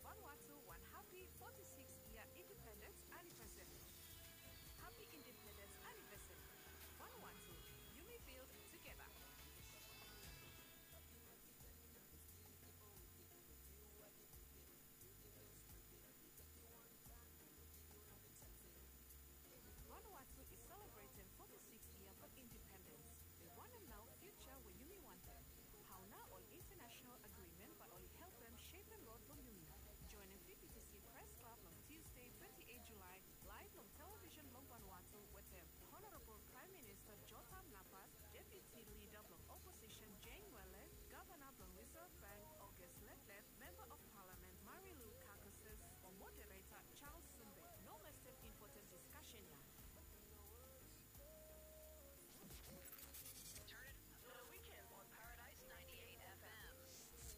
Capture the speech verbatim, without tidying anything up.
Vanuatu wan hapi foti sikis yia indipendens anivesari. Hapi indipendens anivesari. Vanuatu, yumi build tugeta. Vanuatu i selebretem foti sikis yia blong indipendens. Be wanem nao fiuja we yumi wantem? Hao nao ol international agrimen bae oli helpem sepem rod blong yumi? Joenem V B T C Press Club long Tuesday, twenti eit Julae, laev long televisen blong Vanuatu wetem Honorabol Praem Minista Jotham Napat, Deputi Lida blong Oposisen Jane Wele, Gavana blong Reserve Bank August Letlef, Memba of Palamen Marilu Carcasses, o Modereta Charles Sumbe. No mestem impoten diskasen ya.